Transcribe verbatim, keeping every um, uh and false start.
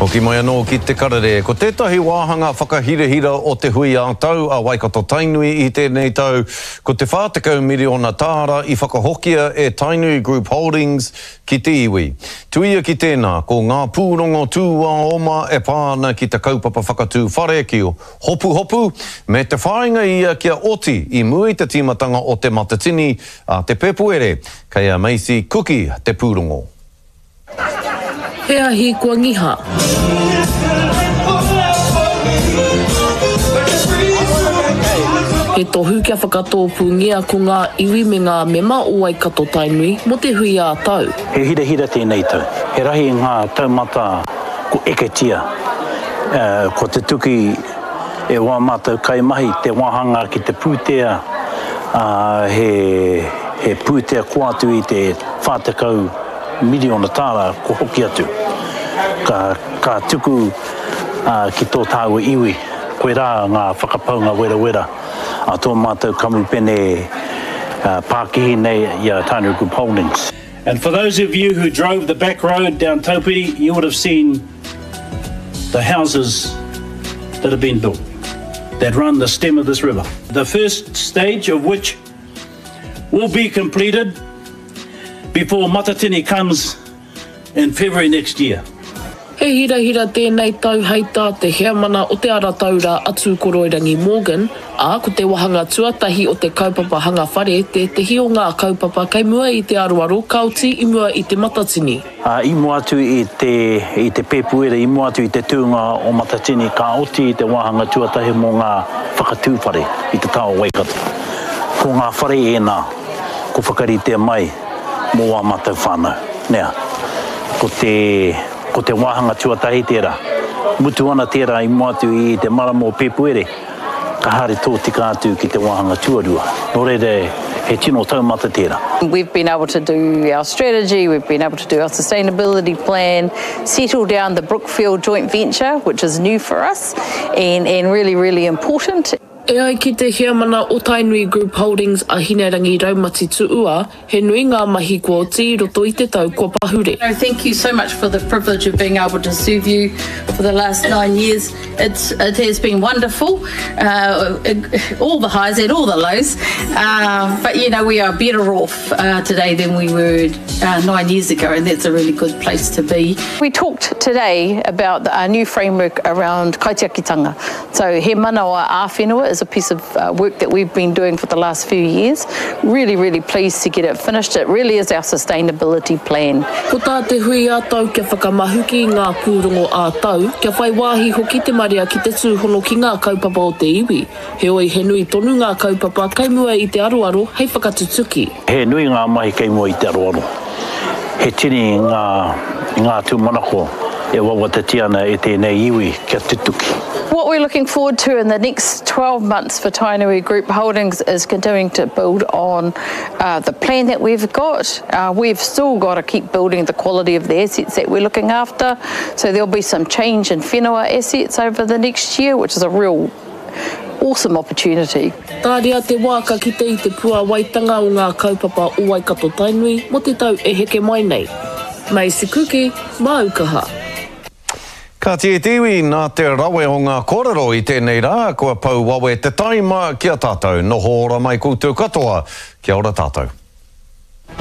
Hoki mai anō ki te karere. Ko tētahi wāhanga whakahirahira o te hui ā-tau a Waikato Tainui i tēnei tau, ko te whā tekau miriona tāra i whakahokia e Tainui Group Holdings ki te iwi. Tuia ki tēnā, ko ngā pūrongo tūāoma e pā ana ki te kaupapa whakatū whare ki Hopuhopu, me te whāinga ia kia oti i mua i te tīmatanga o te Matatini a te Pēpuere. Kei a Macy Kuki te pūrongo. He ahi kua ngiha. He tohu kia whakatōpūngia ko ngā iwi me ngā mema o Waikato Tainui mō te hui ā-tau. He hirahira tēnei tau. He rahi ngā taumata ko eketia, ko tutuki e wā mātou kaimahi te wāhanga ki te pūtea, he pūtea kua atu i te whā tekau miriona tāra kua hoki atu. Ka, ka tuku ki tō tāua iwi, koirā ngā whakapaunga werawera a tō mātou kamupene pākihi nei i a Tainui Group Holdings. And for those of you who drove the back road down Taupiri, you would have seen the houses that have been built that run the stem of this river. The first stage of which will be completed before Matatini comes in February next year. He hirahira tēnei tau hei tā te heamana o te Ara Taura a Tūkoroirangi Morgan, ā, ko te wāhanga tuatahi o te kaupapa hanga whare tētehi o ngā kaupapa kei mua i te aroaro ka oti i mua i te Matatini. Ā, i mua atu i te, i te Pēpuere, i mua atu i te tūnga o Matatini, ka oti te wāhanga tuatahi mō ngā whakatū whare i te taha o Waikato. Ko ngā whare ēnā ko whakaritea mai mō ā mātou whānau. Nea, ko te, ko te wāhanga tuatahi tērā. Mutu ana tērā i mua atu i te marama o Pēpuere, ka haere tōtika atu ki te wāhanga tuarua. Nō reira, he tino taumata tērā. We've been able to do our strategy, we've been able to do our sustainability plan, settle down the Brookfield joint venture, which is new for us and, and really, really important. E ai ki te heamana o Tainui Group Holdings a Hinerangi Raumati Tuua, he nui ngā mahi kua oti i roto i te tau kua pahure. Thank you so much for the privilege of being able to serve you for the last nine years. It's, it has been wonderful, uh, all the highs and all the lows, uh, but you know we are better off, uh, today than we were, uh, nine years ago, and that's a really good place to be. We talked today about our new framework around kaitiakitanga. So he manawa ā-whenua is a piece of, uh, work that we've been doing for the last few years. Really, really pleased to get it finished. It really is our sustainability plan. Ko tā te hui ā-tau kia whakamahuki i ngā pūrongo ā-tau, kia whai wāhi hoki te marea ki te tūhono ki ngā kaupapa o te iwi. Heoi, he nui tonu ngā kaupapa kei mua i te aroaro hei whakatutuki. He nui ngā mahi kei mua i te aroaro. He tini ngā, ngā tūmanako e wawatatia ana e tēnei iwi kia tutuki. What we're looking forward to in the next twelve months for Tainui Group Holdings is continuing to build on, uh, the plan that we've got. Uh, we've still got to keep building the quality of the assets that we're looking after. So there'll be some change in whenua assets over the next year, which is a real awesome opportunity. Tāria te wā ka kite i te puāwaitanga o ngā kaupapa o Waikato Tainui mō te tau e heke mai nei. Macy Kuki, māu kaha. Ka tia te iwi, nā te rawe o ngā kōrero i tēnei rā, kua pau wawe te taima ki a tātou. Noho ora mai koutou katoa. Kia ora tātou.